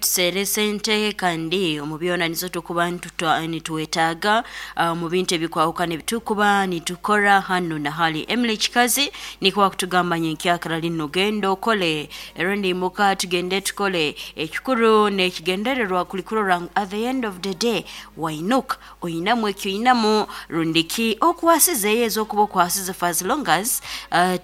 Tuseere sente kandi omu byona nizo tukuba nitwetaaga mu bintu ebikwahukana ebitukuba nitukora hanu na hali. Emily Kikazi nikwo akutugamba nyenkyakara linu, genda okole rundi imuka tugende tukole. Ekikuru n'ekigendererwa kuli kurora ngu at the end of the day wainuka oinamu ekyoinamu rundi ki okwasizeyo ez'okuba okwasize, for as long as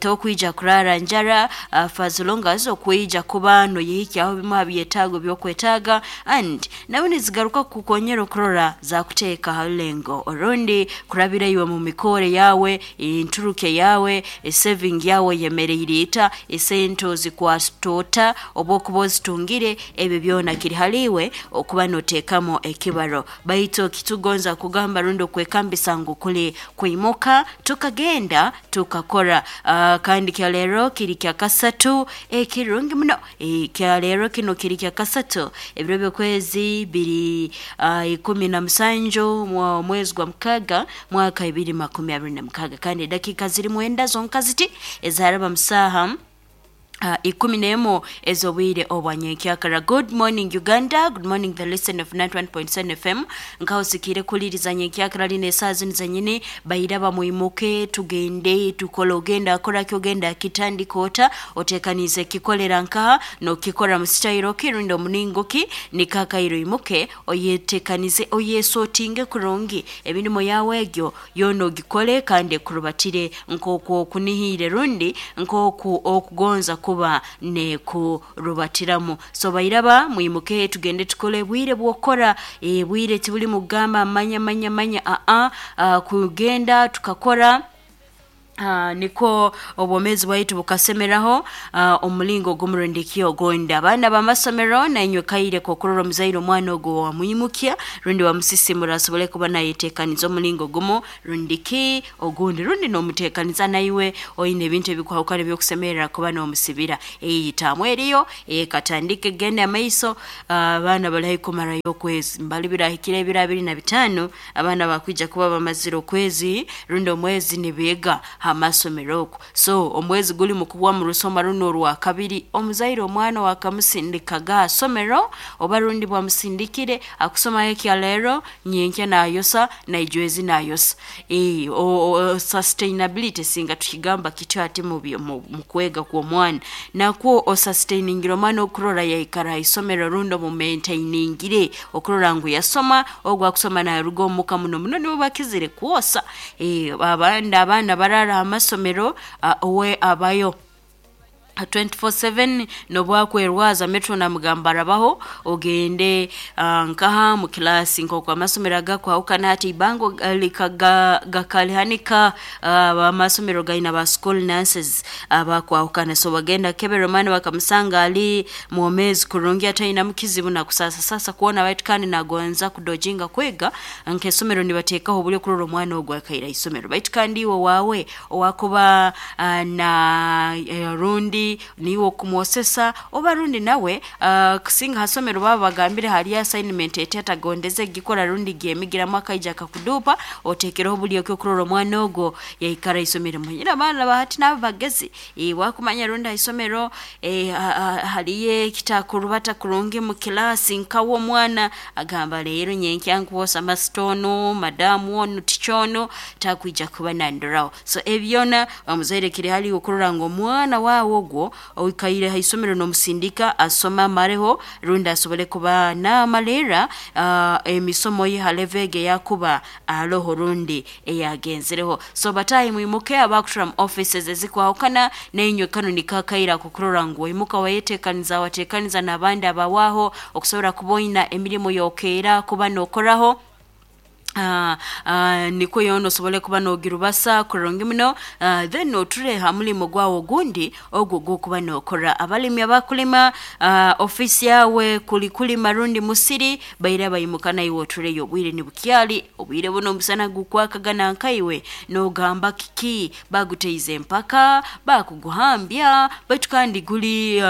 tokwija kurara njara, for as long as okwija kuba noyehikyaho bimu ha byetaago by'okwetaaga, and nawe nizigaruka kukukonyera okurora zakuteeka ha rulengo orundi kurabira iwe mu mikore yawe, enturuke yawe, esaving yawe yemereire ita, esente ozikwata ota oba okuba ozitungire. Ebyo byona kiri haliiwe okuba noteekamu ekibaro. Baitu kitugonza kugamba rundi okwekambisa ngu kuli kwimuka tukagenda tukakora. Kandi kyaleero kiri kyakasatu ekirungi muno. Kyaleero kino kiri kyakasatu, ebiro by'okwezi biri 17 mwezi gwa 6 mwaka 2026, kandi edakiika ziri 9 zonka ziti ezaraba musaaha 11 ez'obwire obwa nyenkyakara. Good morning Uganda, good morning the listen of 91.7 FM. Nkaho sikire kuliriza nyenkyakara lino esaaha zinu zenyini. Bairaba mwimuke tugende tukole. Ogenda akoraki, ogenda akitandika ota, otekaniize kikolera nkaha, nokikora mu sitayiro ki rundi omulingo ki? Nikakaire oimuke oyetekanize, oyesotinge kurungi emirimo yawe egyo yoona ogikole kandi ekurubatire nk'oku okunihiire rundi nk'oku okugonza kuba nekurubatiramu. So bairaba mwimuke tugende tukole. Bwire bw'okukora, bwire tibuli mugamba manya manya manya, aa kugenda tukakora. Nikwo obwomeezi bwaitu bukasemeraho omulingo ogumu rundi ki ogundi. Abaana b'amasomero, nainywe kaire k'okurora omuzaire omwana ogwo wamwimukya rundi wamusisimura asobole kuba nayeteekaniza omulingo gumu rundi ki ogundi, rundi n'omuteekaniza naiwe oine ebintu ebikwahukana ebyokusemerera kuba n'omusibira. Taamu eriyo katandike genda amaiso. Abaana bali haihi kumarayo okwezi, mbali birahikire ebiro 25, abaana bakwija kuba bamazire okwezi rundi omwezi nibeega ha masomero okwo. So omwezi guli mukuhwa mu rusoma runo orwakabiri. Omuzaire omwana wakamusindikaga ha somero oba rundi bwamusindikire akusomayo ekyaleero, nyenkya nayosa, naijwezi nayosa. Sustainability singa tukigamba kityo hati mu kwega kw'omwana, nakwo osustainingire omwana okurora yaikara ha isomero rundi omumaintainingire okurora ngu yasoma. Ogu akusoma naruga omuka muno muno nibo bakizire kwosa. Abandi abaana barara ha masomero, owe abayo 24/7, nobwakwerwaza metro namugamba arabaho ogende nkaha mu kilasi. Nk'oku amasomero agakwahukana hati ibango gakalihanika, amasomero gaina ba school nurses abakwahukana, so bagenda kebera omwana bakamusanga ali mwomeezi kurungi atainamu kizibu, nakusasa sasa kuona baitu kandi nagonza kudojinga kwega nk'esomero nibateekaho obulyo kurora omwana ogwo akaira isomero. Baitu kandi iwe waawe owakuba na rundi niiwe okumwosesa oba rundi nawe kusinga ha somero baba bagambire haliyo assignment eti atagondeze gikora rundi gyemigiramu akaija akakuduupa, oteekereho obulyo ki okurora omwana ogwo yaikara isomero. Manyire abaana bahati nabo bagezi, wakumanya rundi ha isomero haliyo ekitakurubata kurungi mu kilasi, nkawe omwana agamba leero nyenkya nkwosa masita onu, madamu onu, tica onu takwija kuba nandoraho. So ebyona omuzaire kiri hali okurora ngu omwana waawe ogwo oikaire ha isomero n'omusindika asome amareho rundi asobole kuba namalirra emisomo ye ha level egi eyakuba aroho rundi eyagenzereho. So bataahi mwimuke, abakutura mu offices ezikwahukana, nainywe kanu niko akaire akokurora ngu waimuka wayetekaniza, watekaniza n'abandi abawaho okusobora kuba oina emirimo yokeera kuba n'okoraho. Nikwo yoona osobole kuba n'ogirubasa kurungi muno, then oture ha mulimo gwawe ogundi ogwo ogw'okuba n'okora. Abalimi abakulima, ofiisi yawe kuli kulima rundi musiri, baire baimuka naiwe otureyo obwire nibukyali. Obwire buno omusana gukwakaga nankaiwe n'ogamba kiki baguteize empaka bakuguhambya, baitu kandi guli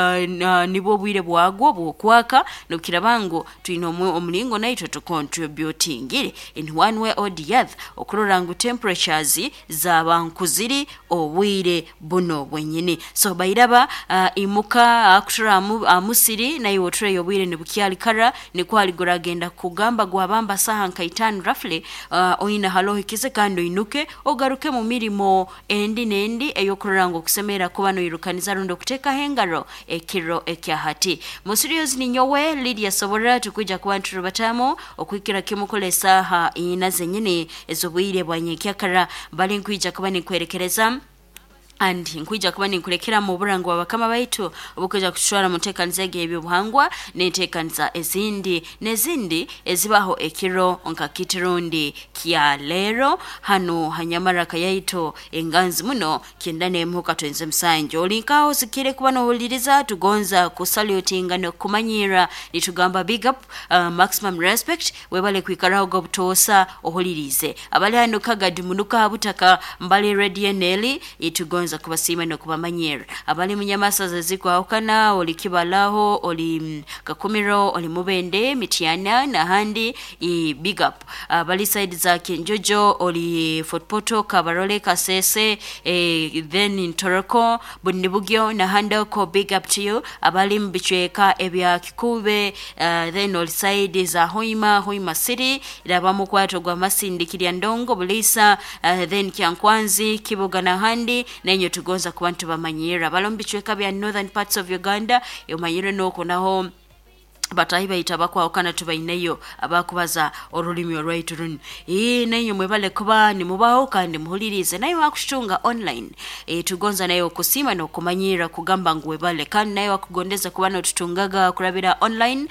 nibwo obwire bwagwo bw'okwaka. Nokiraba ngu twine omulingo naitwe tukontributingire. in one way or the other okurora ngu temperatures zaba nkuziri obwire buno bwenyini. So bairaba imuka akutura amusiri naye otureyo obwire nibukyali kara nikwali guragenda kugamba gwabamba saha nka 5 roughly oina halohikize kandi oinuke ogaruke mu mirimo endi nendi eyokurora ngu okusemera kuba noirukaniza rundi okutekaho engaro ekiro ekyahati. Musirios ninyowe Lydia Sobora tukwija kuba nturubatamu okwikira kimukole saha ina zenyini ez'obwire bwa nyenkyakara bali nkwija kuba ninkwerekereza and nkwija kuba ninkulekera mu burango bwa bakama baitu obukwija kutushwara mu nteekaniza ebyobuhangwa n'enteekaniza ezindi n'ezindi ezibaho ekiro nka kitirundi kya leero hano hanyamaraka yaitu enganzi muno kyenda n'emuhuka twenze musanju. Olinkaho sikire kuba nohuliriza tugonza kusalutinga n'okumanyira nitugamba big up, maximum respect webale kwikaraho gobutoosa ohulirize. Abali hano Kagadi munuka butaka Mbale Radio Neli itugonza kubasiima n'okubamanyira. Abali munyamasaza zikwahukana oli Kibalaho oli Kakumiro oli Mubende Mityana n'ahandi big up. Abali side za Kinjojo oli Fort Portal Kabarole Kasese then Ntoroko Bundibugyo n'ahandi oko big up to you. Abali mu bicweka ebya Kikube then oli side za Hoima Hoima City raba mukwato gwa Masindi Kiryandongo Bulisa then Kyankwanzi Kibuga n'ahandi nenyo tugonza kuba ntubamanyira. Abali mu bicweka bya northern parts of Uganda omanyire noko naho batahi baita bakwawukana tubaineyo abakubaza orulimi orwaitu runu. Nenyo mwebale kuba nimubaho kandi muhulirize naye wakushunga online. Tugonza naye okusima n'okumanyira kugamba ngu webale kandi naye wakugondeza kuba notutungaga kurabira online.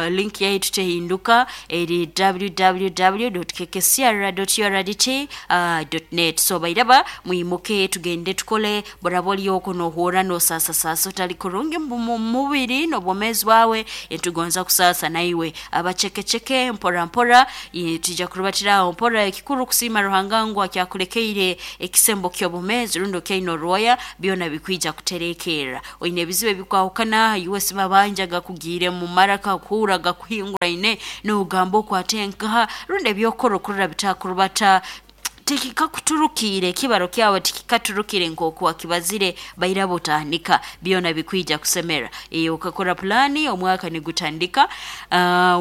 Link yaitu tehinduka eri www.kkcr.urdt.net. So bairaba mwimuke tugende tukole boraboli oko nohura nosasa sasa otali kurungi mu mubiri n'obwomezi bwawe etugonza kusasa naiwe abachekecheke mpora mpora tija kurubatiraho mpora ekikuru kusima Ruhanga ngu akyakulekeire ekisembo ky'obumezi rundo kyaino roya byona bikwija kuterekera. Oine ebizibu ebikwahukana US mabanja gakugire mu maraka kuhura gakuhinguraine n'ogamba okwatenkaha rundi ebyokora okurora bitakurubata tikikakuturukire kibaro kyawe tikikaturukire nkoku wakibazire bairabo tanika byona bikwija kusemera. Ukakora plani omwaka nigutandika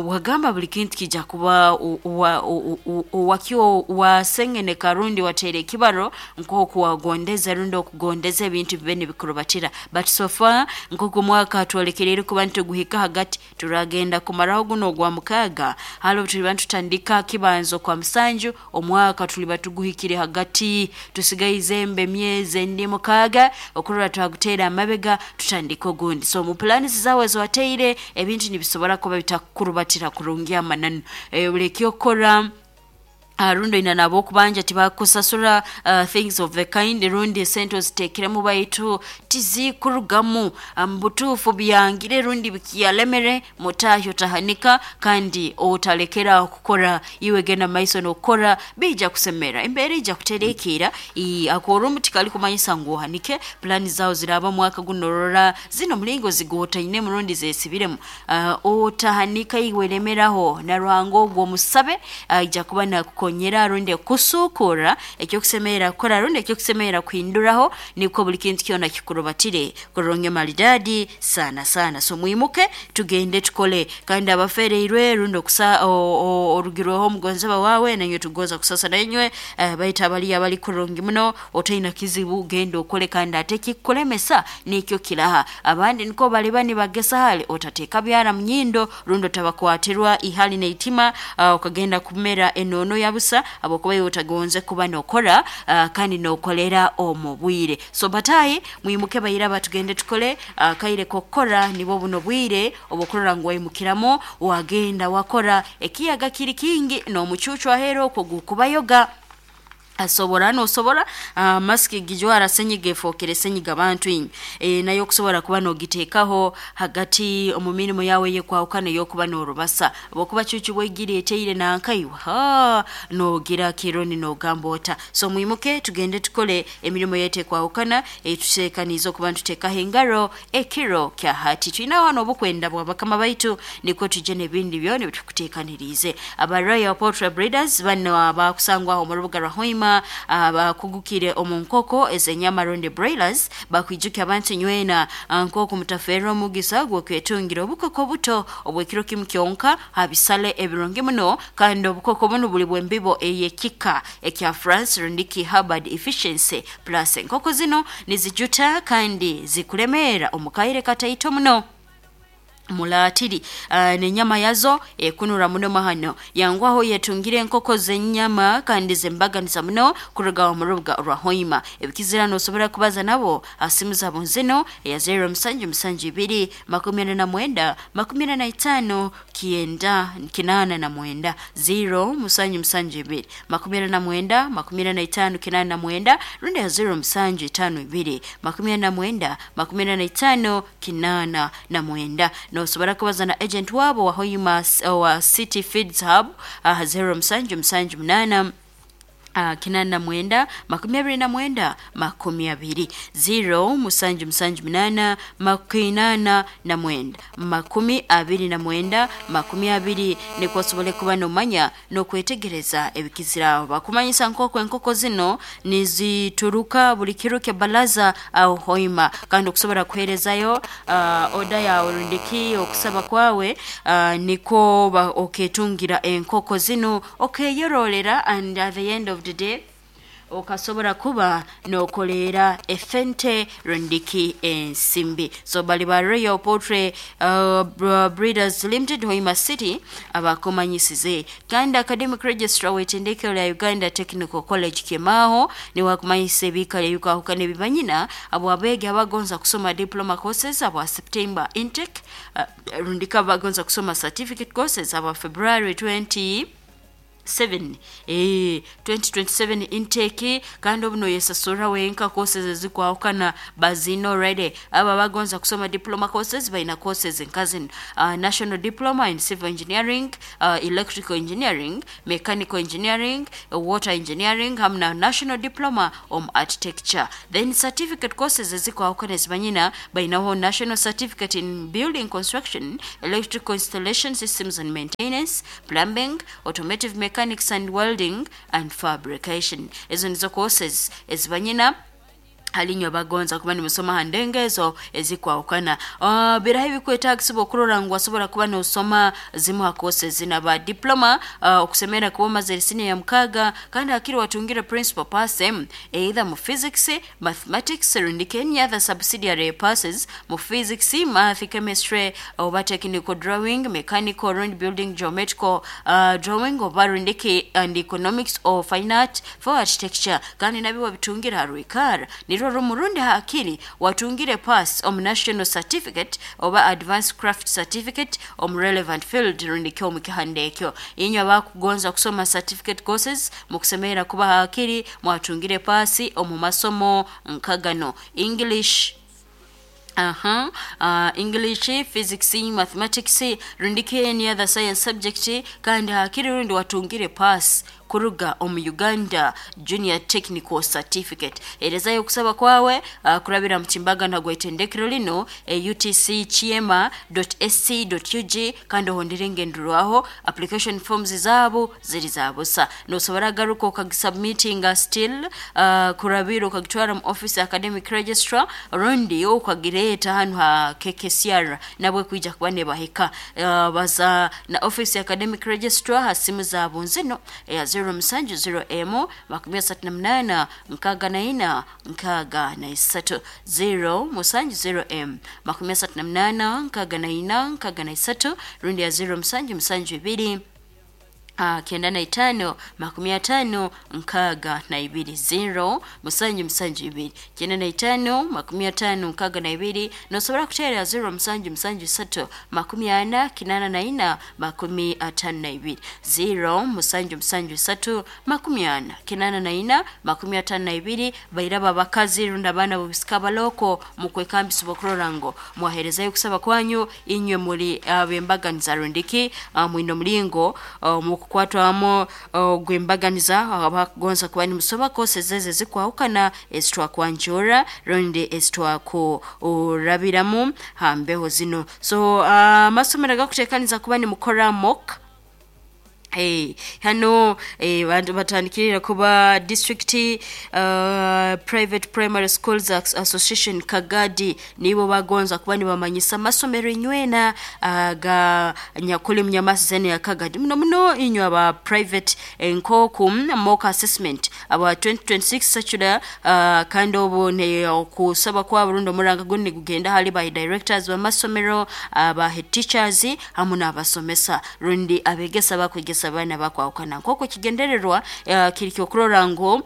wagamba buli kintu kija kuba wakio wasengene karundi watere kibaro nkoku wagondeza rundi okugondeza ebintu bibe nibikurubatira. But so far nkoku mwaka twolekerere kuba ntuguhika hagati turagenda kumaraho guno gwa mukaga halo tuliba tutandika kibanzo kwa musanju omwaka tuliba tuguhikire hagati tusigaize embe myezi endi mukaga okurora twagutera amabega tutandika ogundi. So mu plani zawe zowateire ebintu nibisobora kuba bitakurubatira kurungi amananu. Buli okora rundo ina nabo kubanja tibakusasura things of the kind rundi sente zitekiremu baitu tizikurugamu mbutufu byangire rundi bikiyalemere mutahyo tahanika kandi otalekera kukora iwe genda maiso nokora bija kusemera embere ija kuterekera akorumu tikali kumanyisa ngu ohanike plani zao ziraba mwaka gunorora zino mulingo zigotaine murundi zesibiremu otahanika iwe lemeraho na Ruhanga ogwo musabe ija kuba na kukonyera rundi kusukura ekyokusemera kukora rundi ekyokusemera kuhinduraho niko buli kintu kyona kikurubatire kuronge maridadi sana sana. So mwimuke tugende tukole kandi abafereirwe rundi okusa orugirweho omugonzeba wawe nanyo tugoza kusasa nanywe baita abali abali kurungi muno otaina kizibu genda okole kandi ate kikulemesa nikyo kilaha abandi niko bali bani bagesa hali otateka byara mnyindo rundi otabakwatirwa ihali neitima ukagenda kumera enono yabusa abokuba utagonze kuba nokora kandi nokolera omubwire. So batayi mwimuke bayira batugende tukole kaire kokora nibo buno bwire obukorora ngo wayimukiramo wagenda wakora ekiyaga kiri kingi no mucucu ahero kugukubayoga. Asobora nosobora maski gijwara senyiga efookere senyiga bantu inywe, nayo okusobora kuba nogiteekaho hagati omu mirimo yawe eyekwahukana eyokuba norubasa, habwokuba cucu bwegire eteire nankaiwe nogira kironi nogamba ota. So mwimuke tugende tukole emirimo yaitu ekwahukana eituteekaniize okuba nituteekaho engaro ekiro kya hati. Twinaho hanu obukwenda bwa bakama baitu, nikwo tujye n'ebindi byona ebitukuteekaniriize. Aba Royal Poultry Breeders bano abakusangwaho omu rubuga rwa Hoima, abakugukire omu nkoko ez'enyama rundi broilers, bakwijukya abantu nywena nk'oku mutafeerwa omugisa gw'okwetungira obukoko buto obw'ekiro kimu kyonka ha bisale ebirungi muno, kandi obukoko bunu buli bw'embibo ey'ekika ekya France rundiki Hubbard Efficiency Plus. Enkoko zinu nizijuta kandi zikulemeera omu kaire kataito muno mulaatiri, n'enyama yazo ekunura muno mahano. Yangwaho yetungire enkoko z'enyama kandi z'embaganiza muno kuruga omu rubuga rwa Hoima. Ebikizira nosobora kubaza nabo ha simu zabo zinu eya 0772 49 45 9 89, 0772 49 45 89, rundi ya 0752 49 45 89. Nosobora kubaza na agent wabo wa Hoima wa City Feeds Hub aha 0778 89 29 20, 0778 89 29 20, nikwo osobole kuba nomanya n'okwetegereza ebikiziraho. Bakumanyisa nk'oku enkoko zino nizituruka buli kiro kya balaza aho Hoima, kandi okusobora kuheerezayo oda yawe rundiki okusaba kwawe, nikwo oketungira enkoko zinu okeyorolera, and at the end of the day okasobora kuba nokoleera efente rundiki ensimbi. So bali ba Royal Poultry Breeders Limited, Hoima City, abakumanyisize. Kandi academic registrar w'etendekero lya Uganda Technical College Kimaho niwe akumanyisa ebiikaro ebikwahukana ebibanyina abo abeegi abagonza kusoma diploma courses aba September intake, rundiki abagonza kusoma certificate courses aba February 20 7 2027 intake, kandi obu noyesasura wenka. Courses ezikwahukana bazina already. Aba bagonza kusoma diploma courses baina courses nka zino: national diploma in civil engineering, electrical engineering, mechanical engineering, water engineering, hamu na national diploma omu architecture. Then certificate courses ezikwahukana ezibanyina, bainaho national certificate in building construction, electrical installation systems and maintenance, plumbing, automotive mechanics and welding and fabrication. Ezo nizo courses ezibanyina halinywe bagonza kuba nimusoma ha ndengo ezo ezikwahukana. Biraho ebikwetagisibwa okurora ngu wasobora kuba nosoma zimu ha courses zina ba diploma? Okusemera kuba omazire senior ya 6, kandi hakiri watungire principal pass M either mu physics, mathematics, rundiki any other subsidiary passes mu physics, math, chemistry, oba technical drawing, mechanical rundi building geometrical drawing, oba rundiki and economics or fine art for architecture, kandi nabyo wabitungira ha rwikara nirwo rumu, rundi hakiri watungire pass omu national certificate oba advanced craft certificate omu relevant field rundiki omu kihandekyo. Inywe abakugonza kusoma certificate courses, mukusemerera kuba hakiri mwatungire pasi omu masomo nkagano: English, English, physics, mathematics, rundiki any other science subject, kandi hakiri rundi watungire pass kuruga omu Uganda Junior Technical Certificate. Erezayo okusaba kwawe kurabira mu timbagano gw'etendekero lino utckiema.sc.ug, kandi ohondere engenderwaho. Application forms zabo ziri za busa, nosobora garuka okagisubmitinga still kurabira okagitwara mu office academic registrar, rundi okagireeta hanu ha KKCR, nabwe kwija kuba nebahika. Baza na office academic registrar ha simu zabo nzino eya 070 m 38 64 63, 070 m 38 64 63, rundi ya 0772 95 50 62 0 7 7 2 95 50 62. Nosobora kuteera 0 7 7 3 40 84 52 0 7 7 3 40 84 52. Bairaba abakazi rundi abaana bobisika baloko mukwekambisa okurora ngo mwaherezayo kusaba kwanyu inywe muri abembaganiza rundiki mwine omulingo mukukwatwamu gwembaganiza abakugonza kuba nimusoma kose zeze zikwahukana ezitwakwanjura rundi ezitwakurabiramu hambeho zino. So amasomero gakutekaniza kuba nimukora mock. Hey, hano bantu batandikirira kuba district private primary schools association Kagadi nibo bagonza kuba nibamanyisa amasomero inywena ga nyakuli mnyamasi zene ya Kagadi muno muno inywe aba private nkoku mock assessment aba 2026 secular kandi obu ne okusaba kwa Burundi omuranga gundi gugenda hali by directors b'amasomero, aba head teachers hamu n'abasomesa rundi abegesa bakwegesa abaana bakwahukana nk'oku kigendererwa kiri kyokurora ngu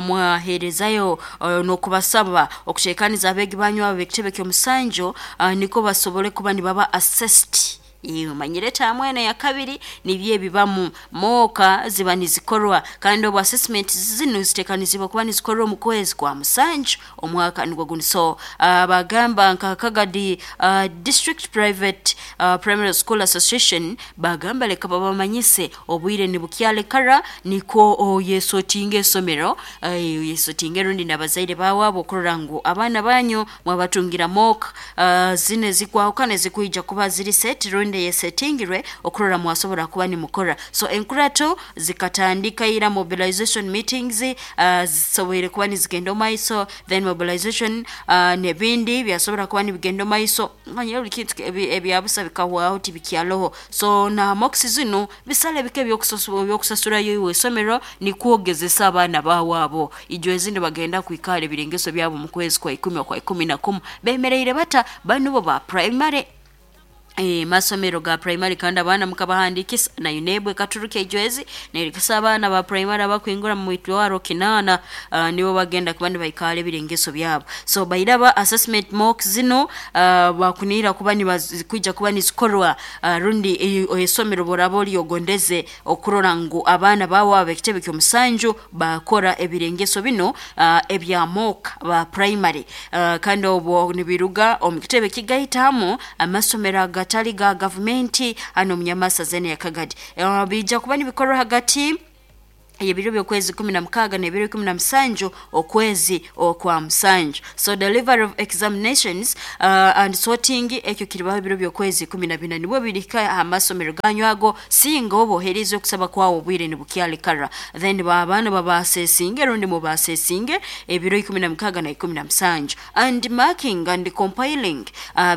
mwaherezayo n'okubasaba okutekaniza abeegi banyu abo b'ekitebe ky'omusanjo niko basobole kuba nibaba assessed. Manyire tamwena ya kabiri nibyo ebibamu moka ziba nizikorwa kandi obu assessment zino zitekanizibwa kuba nizikorwa mu kwezi kwa musanju omwaka nigwo guni. So bagamba nka Kagadi district private primary school association bagamba leka babamanyise obwire nibukyalekara niko yesotinga esomero yesotinga rundi n'abazaire bawaabo okurora ngu abaana banyu mwabatungira mock zine zikwahukana zikwija kuba ziri set rundi yesetingirwe okurora mwasobora kuba nimukora. So enkurato zikatandika ira mobilization meetings zisoboire kuba nizigenda omaiso, then mobilization nebindi byasobora kuba nibigenda omaiso manyire buli kintu ebyabusa bikahwaho tibikyaloho. So na mocks zino bisale bike ebyokusasurayo iwe esomero nikwogezesa abaana bawaabo ijo ezindi bagenda kwikara ebirengeso byabo mu kwezi kwa 10 kwa 11 bemereire bata bano bo ba primary masomero ga primary kandi abaana mukabahandikisa na UNEB ekaturuka ejwezi nerikisa abaana ba primary abakwingura mu mitwaro 8 nibo bagenda kuba nibaikara ebirengeso byabo. So bairaba assessment mock zino bakunira kuba nibakwija kuba nizikorwa rundi esomero boraba oryogondeze okurora ngu abaana bawe ab'ekitebe ky'omusanju bakora ebirengeso bino ebya mock ba primary kandi obwo nibiruga omu kitebe kigaitamu amasomero agatali ga gavumenti hano munyamasa zene ya Kagadi bija kuba nibikorwa hagati ebiro by'okwezi 16 n'ebiro 17 okwezi okwa musanju. So delivery of examinations and sorting ekyo kiribaho ebiro by'okwezi 14 nibwo birika amasomero ganyu ago singa obohereza okusaba kwawo obwire nibukyalekara then abaana babasesinge rundi mubasesinge ebiro 16 na 17 and marking and compiling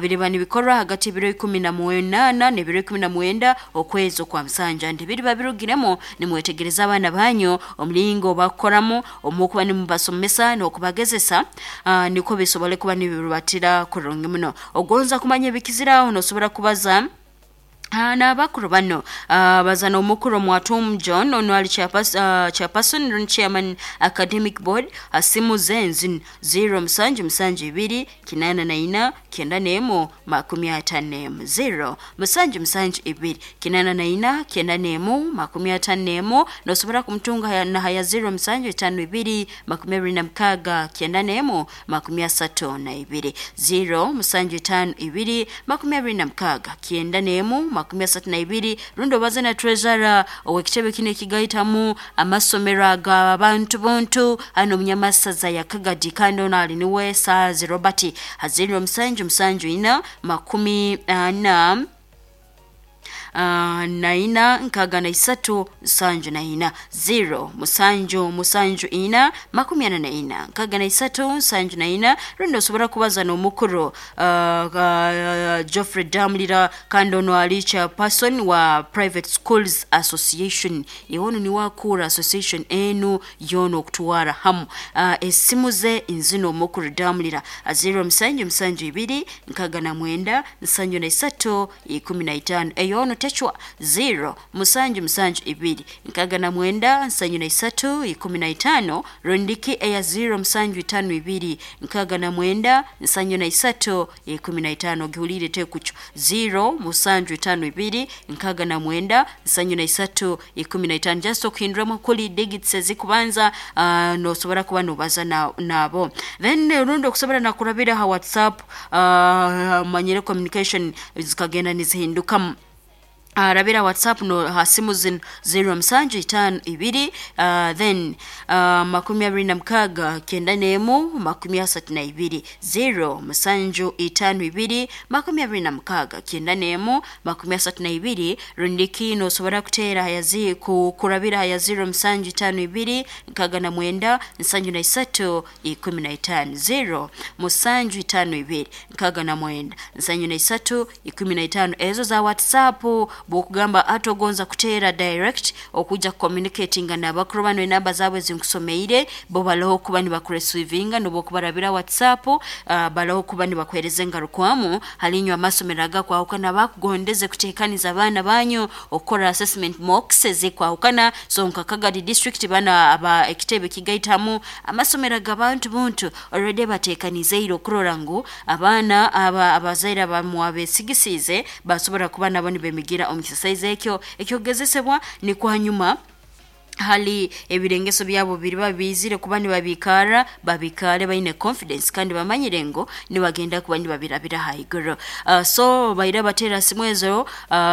biriba nibikorwa hagati ebiro 18 n'ebiro 19 okwezi okwa musanju and biriba birugiremo nimwetegereza abaana banyu omulingo bakoramu omukuba nimubasomesa n'okubagezesa niko bisobole kuba nibirubatira kurungi muno. Ogonza kumanya ebikiziraho nosobora kubaza n'abakuru bano bazana omukuru Mwatum John ono ali chairperson run chairman academic board asimu zenzi 0 7 7 2 8 9 91 0 7 7 2 8 9 91 nosobora kumtunga na haya 0 7 5 2 26 91 32 0 7 5 2 26 91 32 rundo bazana treasurer owekitebe kine kigaitamu amasomero ag'abantu buntu hano munyamasaza ya Kagadi kandi ono ali niwe Saazi Robert haziro 7 7 4 40 naina nkaga na isatu nsanju na ina 0 7 7 4 44 nkaga na isatu nsanju na ina rundi osobora kubaza n'omukuru Geoffrey Damlira kandi ono ali chairperson wa Private Schools Association iwono ni wakura association enu yono okutwara hamu esimu ze nzino omukuru Damlira 0 7 7 2 nkaga na mwenda nsanju na isatu 15 eyono. Katecwa 0 7 7 2 69 73 15 rondiki eya 0 7 5 2 69 73 15. Gihulire tekucho 0 7 5 2 69 73 15. Just okuhinduramu kuli digits ezikubanza, nosobora kuba nobaza nabo then rundi okusobora nakurabira ha WhatsApp. Manyire communication zikagenda nizihindukamu. Rabira WhatsApp no ha simu zino 0 7 5 2, then 26 91 32 0 7 5 2 26 91 32. Rundiki nosobora kuteera hayazi kurabira haya 0 7 5 2 69 73 15 0 7 5 2 69 73 15. Ezo za WhatsApp bwokugamba atogonza kuteera direct okuja communicatinga nabakuru bano, enamba zaabwe zinkusomeire bo baloho kuba nibakuresivinga nobokubarabira WhatsApp, baloho kuba nibakuhereza engarukwamu. Halinywe amasomero agakwahukana bakugondeze kutekaniza abaana banyu okukora assessment mocks ezikwahukana. So nka Kagadi district bana aba ekitebe kigaitamu amasomero g'abantu buntu already batekanizeire okurora ngu abaana aba abazaire abamwabesigisiize basobora kuba nabo nibemigira omu kisasaizi ekyo ekyogezesebwa. Nikwo hanyuma hali ebirengeso byabo biriba bizire kuba nibabikara babikare baine confidence kandi bamanyire ngo nibagenda kuba nibabirabira haiguru. So baira batera simu ezo,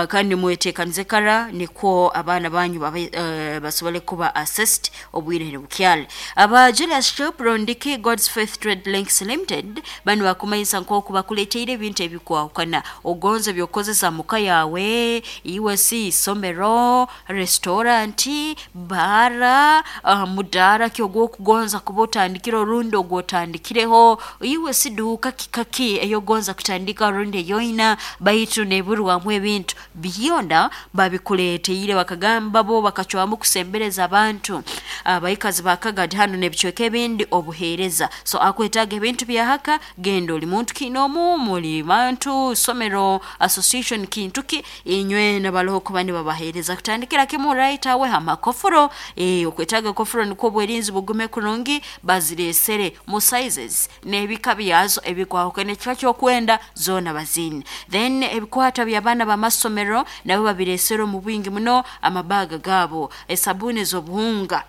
kandi mwetekanize kara nikwo abaana banyu babe, basobole kuba assessed obwire bukyali. Aba Julius Shop rondiki God's Faith Trade Links Limited bano bakumanyisa nk'oku bakuleteire ebintu ebikwahukana ogonze byokozesa muka yawe, iwe si isomero, restaurant, bara, mudara ki ogwokugonza kuba otandikire orundi ogwotandikireho, iwe si duuka kikaki eyogonza kutandika rundi eyoina baitu neburwamu ebintu byona babikuleteire. Bakagamba bo bakacwamu kusembereza abantu abaikazi ba Kagadi hano n'ebicweka ebindi obuheereza. So akwetaaga ebintu byahaka, genda oli muntu kinomu muli bantu somero association kintu ki inywe nabaloho kuba nibabaheereza kutandikira kimu right awe hamakofuro. Okwetaaga kofuro nikwo obwerinzi bugume kurungi, baziresere mu sizes n'ebika byazo ebikwahukana, ekika kyokwenda zoona bazine. Then ebikwata by'abaana b'amasomero nabo babiresere omu bwingi muno, amabaga gaabo, esabuni ez'obuhunga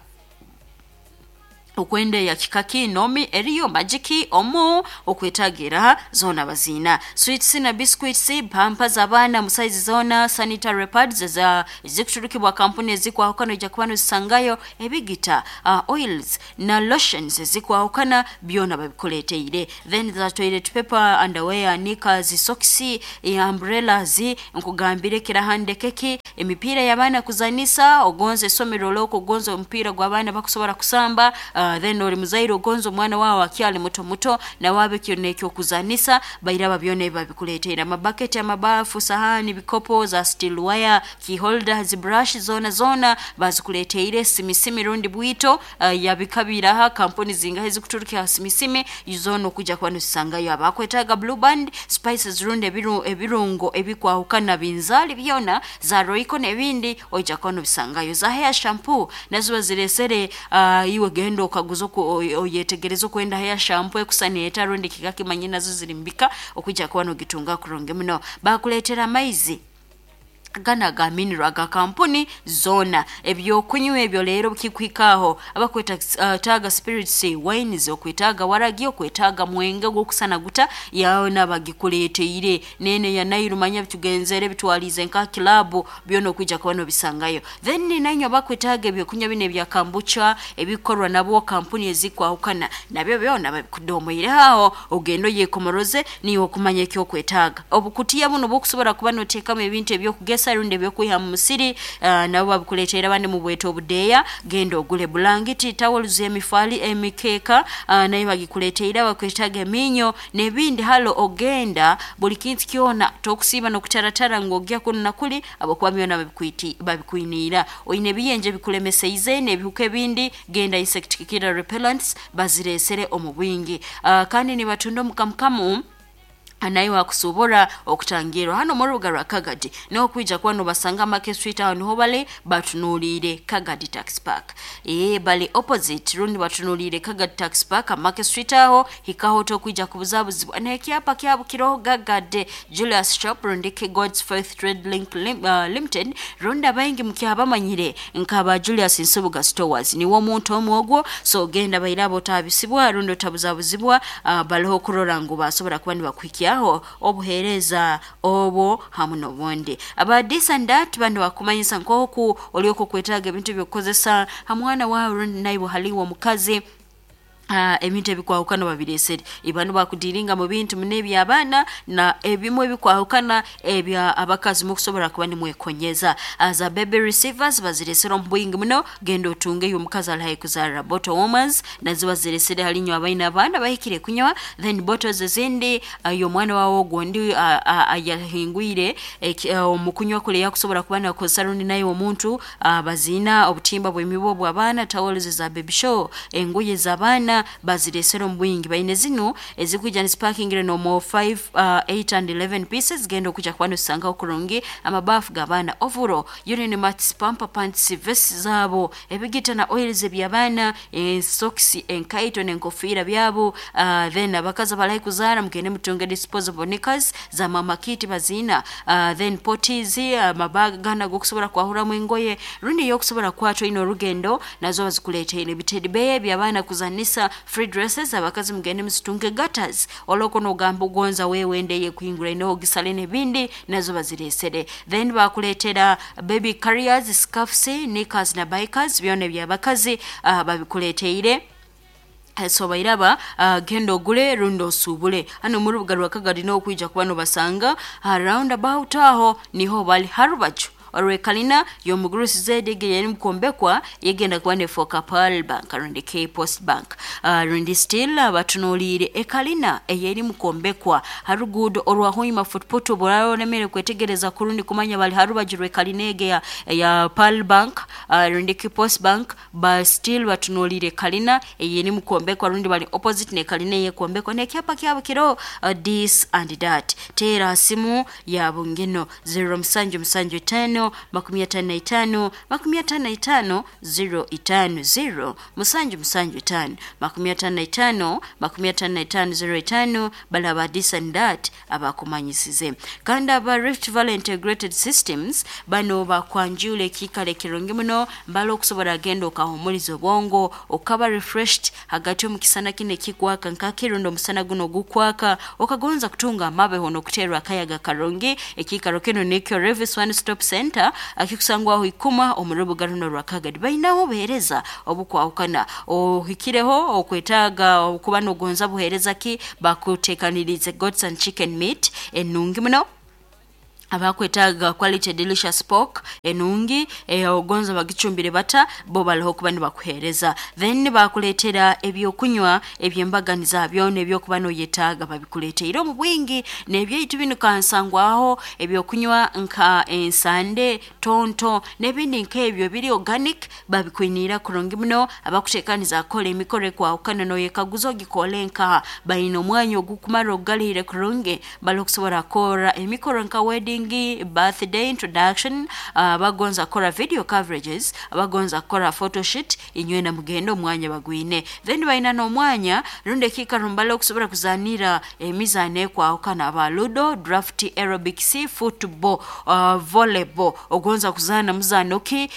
okwenda ya kikaki nomi eriyo majiki omu okwetagira zona bazina, sweets na biscuits, pampa z'abaana mu size zona, sanitary pads za ezikuturukibwa kampuni ezikwahukana ojja kuba nozisangayo, ebigita, oils na lotions ezikwahukana byona babikuleteire. Then za toilet paper, underwear, knickers, socks, umbrellas, nkugambire kirahandekeki, emipiira y'abaana kuzanisa ogonza esomero loko ogonza omupiira gw'abaana bakusobora kusamba. Then oli muzaire ogonza omwana wawe akyali muto muto nawabe kyona ekyokuzanisa bairaba byona ebi babikuleteire, amabaketi, amabafu, sahani, bikopo za steel wire, key holders, brush zona zona bazikuleteire, simisimi rundi bwito, yabikabiraha kampuni zingahe zikuturukira simisimi zona okuja kuba nozisangayo. Abakwetaaga Blue Band, spices rundi ebirungo ebikwahukana binzali byona za Royco n'ebindi oija kuba nobisangayo. Za hair shampoo nazo baziresere, iwe genda okaguza oyetegereza okwenda hair shampoo ekusaneeta rundi kikakimanyi nazo ziri mbika okujja kuba nogitunga kurungi muno. Bakuleetera amaizi gana ga mineral aga kampuni zona, ebyokunywa ebyo leero bikikuhikaho abakweta taga spirits, wines, okwetaaga waragi, okwetaaga mwenge gwokusana guta yawe nabagikuleteire nene ya Nairu manya bitugenzere bitwalize nka kilabu byona okwijja kuba nobisangayo. Then nanywe abakwetaaga ebyokunywa bino ebya kombucha ebikorwa nabo kampuni ezikwahukana nabyo byona babikudomoire aho ogenda oyekomoroze niwe okumanya ekyokwetaaga. Obukutiya buno bwokusobora kuba noteekamu ebintu ebyokugesa rundi ebyokwiha mu musiri, nabo babikuleteera bandi mu bweto obudeeya, genda ogule bulangiti, towels, emifali, emikeeka, nayo bagikuleteire. Bakwetaaga eminyo n'ebindi halo ogenda buli kintu kyona tokusiiba n'okutaratara ngu ogya kunu na kuli abakuba byona babikwiniira. Oine ebiyenje bikulemeseize n'ebihuka ebindi, genda insect killer repellents baziresere omu bwingi. Kandi nibatunda omukamukamu. Naye wakusobora okutangirwa hano mu rubuga rwa Kagadi, niho kwija kuba nobasanga Market Street, aho niho bali batunuliire Kagadi Tax Park. Bali opposite rundi batunuliire Kagadi Tax Park, Market Street aho hikaho tokwija kubuzabuzibwa n'ekyapa kyabo kiroho Gagade Julius Shop rundi ki God's Faith Trade Link Limited, rundi abaingi mukyabamanyire nkaba Julius Nsubuga Stores, niwo omuntu omwe ogwo. So genda bairabo otabisibwa rundi otabuzabuzibwa, baliho kurora ngu basobora kuba nibakuhikyaho obuhereza obwo hamu n'obundi. Aba this and that bano bakumanyisa nk'oku olyoka okwetaaga ebintu ebyokukozesa ha mwana wawe rundi naiwe haliwo omukazi, ebintu ebikwahukana babiresere. Ibano bakudiringa mu bintu muno eby'abaana na ebimu ebikwahukana ebya abakazi mukusobora kuba nimwekonyeza. Za baby receivers baziresere omu bwingi muno, genda otunge eyo omukazi ali haihi kuzarra. Bottle warmers nazo baziresere hali inywe abaine abaana bahikire kunywa. Then bottles ezindi, y'omwana wawe ogundi ayahingwire omu kunywa kule yakusobora kuba nakozesa rundi naye omuntu, baziina obutimba bw'emibu obw'abaana, towels za baby show, engoye z'abaana baziresere omu bwingi. Baine zinu ezikwija nizipakingire nomu 5, 8 and 11 pieces, genda okuja kuba nozisangaho kurungi. Amabafu g'abaana, ovuro, urine mats, pamper pants, vests zabo, ebigita na oils eby'abaana, socks, enkaito n'enkofiira byabo. Then abakazi abalahi kuzaara mugende mutunge disposable knickers za mama kit baziina, then potties, amabaga gana g'okusobora kwahuramu engoye rundi y'okusobora kukwata oine orugendo nazo bazikuleteire. Ebitedi beya eby'abaana kuzanisa, free dresses abakazi mugende muzitunge. Gutters oloko nogamba ogonza wewe ndeye kuhingura inoho gisale n'ebindi nazo baziresere. Then bakuletera baby carriers, scarfs, knickers na bikers, byona eby'abakazi babikuleteire. So bairaba, genda ogule rundi osubule hano mu rubuga rwa Kagadi, n'okwija kuba nobasanga ha roundabout, aho niho bali harubaju orwekalina y'omugurusi zedege yeri mukombekwa yegenda kuba nefoka Pearl Bank rundi K Post Bank, rundi still batunuliire ekalina eyeri mukombekwa harugudo orwa Hoima Footput. Buraro olemere kwetegereza kurundi kumanya bali harubaju rwekalina ege ya Pearl Bank, rundi K Post Bank, ba still batunuliire kalina eyeri mukombekwa rundi bali opposite ne kalina eyekombekwa n'ekyapa kyabo kiro this and that. Teera simu yabo ngeno 0775 55 55 05, 0 775 55 55 05. Balaba this and that abakumanyisize. Kandi aba Rift Valley Integrated Systems bano bakwanjula ekiikaro ekirungi muno mbala okusobora agenda okahumuliza obwongo okaba refreshed hagati omu kisana kino ekikwaka nkakirundi omusana guno ogukwaka, okagonza kutunga amabeho n'okuterwa akayaga karungi. Ekiikaro kino nikyo Revis One Stop Center akikusangwaho ikuma omu rubuga runo rwa Kagadi. Bainaho obuheereza obukwahukana, ohikireho okwetaaga okuba nogonza buheereza ki, bakuteekanirize goats and chicken meat enungi muno, abakwetaaga quality delicious pork enungi, ogonza bagicumbire bata, bo baliho kuba nibakuheereza. Then bakuleetera ebyokunywa ebyembaganiza byona ebyokuba noyetaaga babikuleteire omu bwingi. N'ebyaitu binu kansangwaho ebyokunywa nka ensande, tonto n'ebindi nk'ebyo biri organic babikwiniira kurungi muno. Abakuteekaniza kukora emikoro ekwahukana noyekaguza ogikole nkaha, baine omwanya ogukumara ogugalihire kurungi bali okusobora kukora emikoro nka wedding, birthday, introduction, abagonza kukora video coverages, abagonza kukora photoshoot, inywena mugende omwanya bagwine. Then baina n'omwanya rundi ekiikaro mbali okusobora kuzanira emizaano ekwahukana, aba ludo, draft, aerobics, football, volleyball, ogonza kuzaana muzaano ki,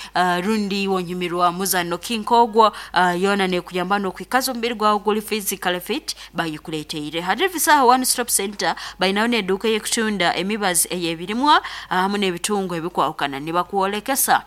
rundi wonyumirwa muzaano ki nk'ogwo, yoona nekuyamba n'okwikaza omubiri gwawe guli physically fit, bayikuleteire. Hari Visaha One Stop Center bainaho n'eduuka ey'ekutunda emibazi ey'ebirimwa hamu n'ebitungo ebikwahukana, nibakwolekesa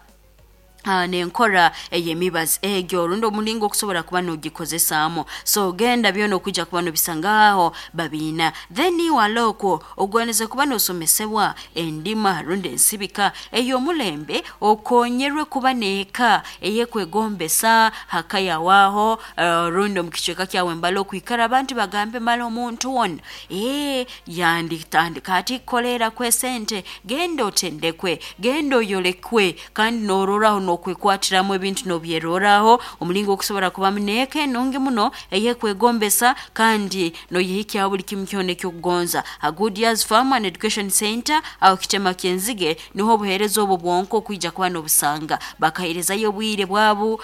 n'enkora ey'emibazi egyo rundi omulingo okusobora kuba nogikozesaamu. So genda byona okwijja kuba nobisangaho babiina. Then wala okwo ogwaniriza kuba nosomesebwa endima rundi ensibika ey'omulembe, okonyerwe kuba n'eka eyekwegombesa haka yawaho, rundi omu kicweka kyawe mbali okwikara abantu bagambe mara omuntu wona yanditandika ati kukoleera kwesente. Genda otendekwe, genda oyolekwe kandi nororaho. Nokwekwatiramu ebintu nobyeroraho omulingo okusobora kubamu n'eka enungi muno eyekwegombesa kandi noyehikyaho buli kimu kyona ekyokugonza. Ha Good Years Farm and Education Center aho Kitema Kyenzige niho obuheereza obwo bwonka okwija kuba n'obusanga. Bakaheerezayo obwire bwabo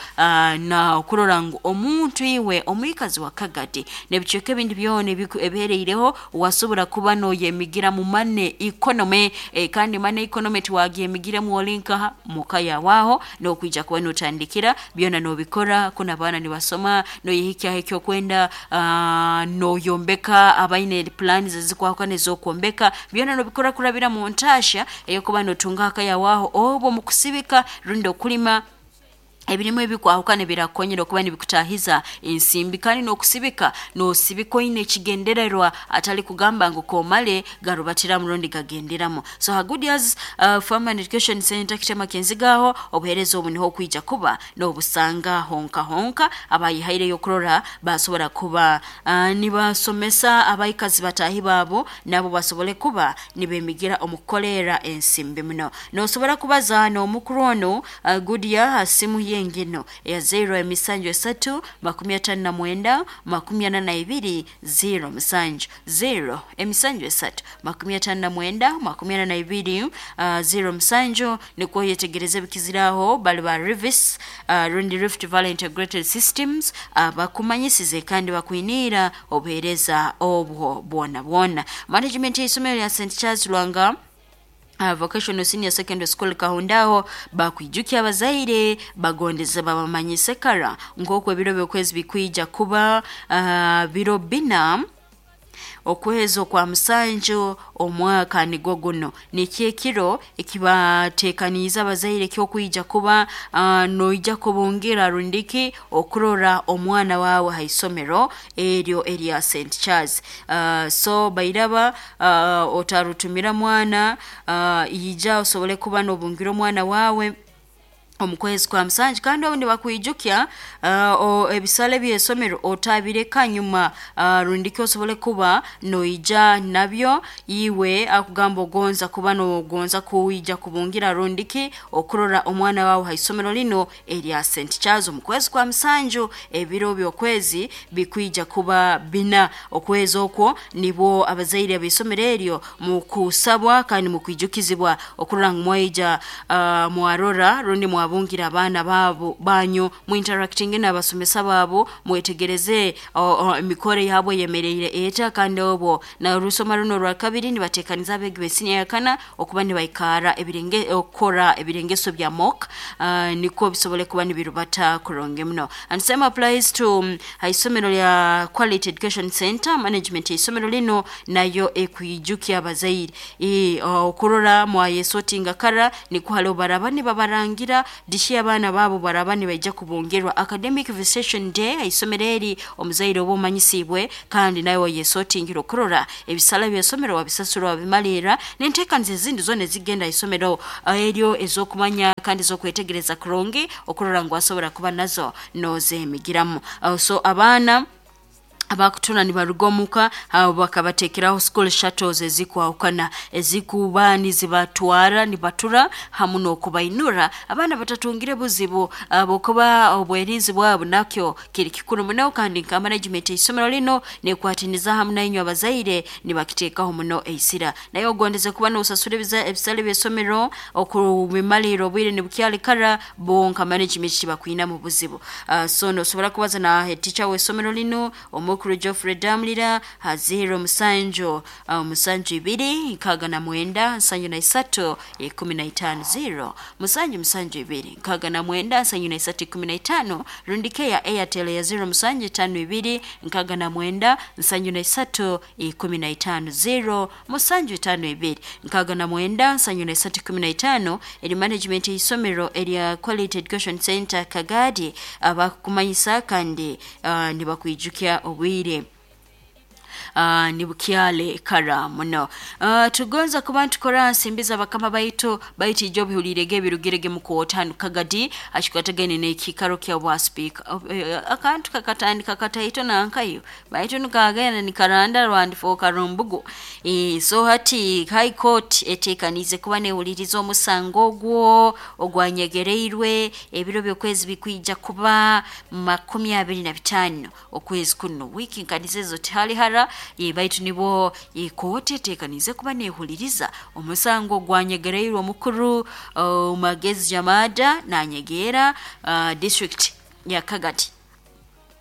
na okurora ngu omuntu iwe omwikazi wa Kagadi n'ebicweka ebindi byona ebihereireho wasobora kuba noyemigira mu money economy, kandi money economy tiwagyemigiremu oli nkaha muka yawaho n'okwija kuba notandikira byona nobikora kuna abaana nibasoma, noyehikyaho ekyokwenda, noyombeka abaine plans ezikwahukana ez'okwombeka, byona nobikora kurabira mu ntaahya ey'okuba notunga akayawaho oba omu kusibika rundi okulima ebirimu ebikwahukana birakukonyera okuba nibikutahiza ensimbi. Kandi n'okusibika nosibika oine ekigendererwa, atali kugamba ngu komale garubatiramu rundi gagenderamu. So ha Good Years Farm and Education Center Kitema Kyenzigaho obuheereza obu niho okwija kuba n'obusanga honka honka abayihaireyo okurora basobora kuba nibasomesa abaikazi bataahi baabo nabo basobole kuba nibemigira omu kukolerra ensimbi muno. Nosobora kubaza n'omukuru onu Goodyear ha simu ye ngino eya 0 7 3 59 42 0 7 0 7 59 42 0 7, nikwo yetegereze ebikiziraho bali ba Rivis, rundi Rift Valley Integrated Systems, bakumanyisize kandi bakwiniira obuheereza obwo bwona bwona. Management y'isomero lya St Charles Lwanga Vocational Senior Secondary School Kahundaho bakwijukya abazaire bagondeze babamanyise kara nk'oku ebiro by'okwezi bikwija kuba biro 4 okwezi okwa 7 omwaka nigwo guno. Nikyo ekiro ekibateekaniize abazaire ekyokwija kuba noija kubungira rundiki okurora omwana wawe ha isomero eryo erya St Charles. So bairaba otarutumira mwana, ija osobole kuba nobungira omwana wawe omu kwezi kwa 7. Kandi obu nibakwijukya ebisale by'esomero otabireka nyuma, rundiki osobole kuba noija nabyo iwe akugamba ogonza kuba nogonza kuija kubungira rundiki okurora omwana wawe ha isomero lino erya St Charles omu kwezi kwa 7. Ebiro by'okwezi bikwija kuba 4 okwezi okwo nibwo abazaire b'isomero eryo mukusabwa kandi mukwijukizibwa okurora ngu mwaija mwarora rundi mwabungira abaana baabo banyu, muinteractinge n'abasomesa baabo, mwetegereze emikoro yabo eyemereire eta. Kandi obwo na orusoma runo orwa kabiri nibateekaniza abeegi b'esiniya ya kana okuba nibaikara ebirenge okukora ebirengeso bya mock, nikwo bisobole kuba nibirubata kurungi muno. And same applies to ha isomero lya Quality Education Center. Management y'isomero lino nayo ekwijukya abazaire okurora mwayesotinga kara, nikwo haliho baraba nibabarangira dishi abaana baabo baraba nibaija kubungerwa academic visitation day ha isomero eri. Omuzaire oba omanyisibwe kandi nawe wayesotingira okurora ebisale by'esomero wabisasura wabimalirra n'enteekaniza ezindi zoona ezigenda ha isomero eryo ez'okumanya kandi ez'okwetegereza kurungi okurora ngu wasobora kuba nazo nozemigiramu. So abaana abakutura nibaruga omuka abo bakabateekeraho school shuttles ezikwahukana ezikuba nizibatwara nibatura hamu n'okubainura abaana batatungire buzibu habwokuba obwerinzi bwabo nakyo kiri kikuru muno. Kandi nka management y'isomero lino nekwatiniza hamu nainywe abazaire nibakiteekaho muno eisira. Naye ogondeze kuba nosasura ebisale by'esomero okubimalirra obwire nibukyali kara, bo nka management tibakwinamu buzibu. So nosobora kubaza na head teacher w'isomero lino omukuru Geoffrey Damulira ha 0 7 7 2 69 73 15, 0 7 7 2 69 73 15, rundi ke ya Airtel ya 0 7 5 2 69 73 15, 0 7 5 2 69 73 15. Eri management y'isomero erya Quality Education Center Kagadi abakumanyisa kandi nibakwijukya obwire. Nibukyale kara muno. Tugonza kuba ntukora nsimbiza bakama baitu baitu ijo bihulirege ebirugirege mu kooti hanu Kagadi akikwatagaine n'ekiikaro kya bwa speaker. Akantu kakatandika kataito nankayo baitu nikagenda nikaranda rwandifooka rumbugu. So hati High Court eteekaniize kuba nehuliriza omusango ogwo ogwanyegereirwe ebiro by'okwezi bikwija kuba 25 okwezi kuno, wiiki nkanizo ezo tihali hara. Baitu nibo kooti eteekaniize kuba nehuliriza omusango ogwanyegereirwe omukuru Magezi Jamada nanyegeera district ya Kagadi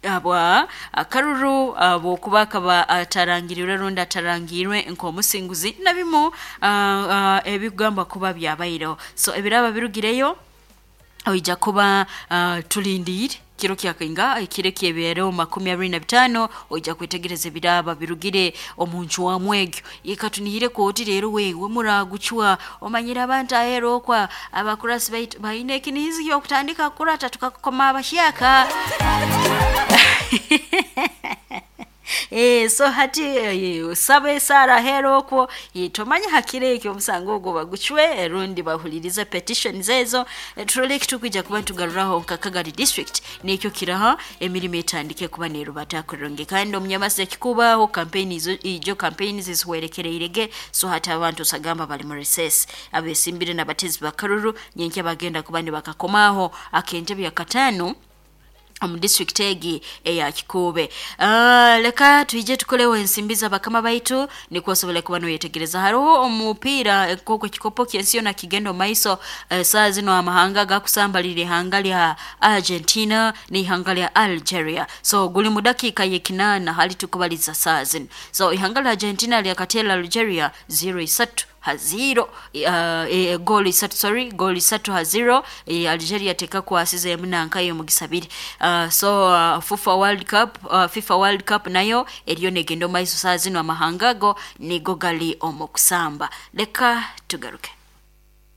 abwa akaruru bwokuba akaba atarangirirwe rundi atarangirwe nk'omusinguzi na bimu ebigamba kuba byabaireho. So ebiraba birugireyo oija kuba tulindiire kiro kyakainga ekiro ekyebeereho 25, oija kwetegereza ebiraba birugire omu ncwamu egyo. Ikatunihire kooti rero wewe muragucwa omanyire abantu aheera okwa abakurasi baitu baine ekinihizi ky'okutandika kukurata tukakukoma abahyaka. So hati saba esaara aheera okwo, tomanya hakiro ekyo omusango ogwo bagucwe rundi bahulirize petitions ezo. Turole ekitukwija kuba ntugaruraho nka Kagadi district nekyo kiraha emirimo etandike kuba nerubata kurungi. Kandi omunyamasi ekikubaho campaign izo ijo campaign zihwerekereirege. So hati abantu osagamba bali mu recess, abesimbire n'abatezi bakaruru nyenkya bagenda kuba nibakakomaho akentebe ya katano omu district egi eya Kikuube. Leka twije tukoleho ensimbi z'abakama baitu nikwo osobole kuba noyetegereza. Hariho omupiira nk'oku ekikopo ky'ensi yona kigenda omu maiso. Saa zino amahanga gakusambalira ihanga lya Argentina n'ihanga lya Algeria. So guli mu dakiika y'ekinaana hali tukubaliza saa zino. So ihanga lya Argentina lyakateera Algeria 0-3 gooli 3, sorry, gooli 3-0. Algeria tekakwasize emu nankayo omugisa biri. So FIFA World Cup, FIFA World Cup nayo eriyo negenda omu maiso saa zino, amahanga ago nigo gali omu kusamba. Leka tugaruke.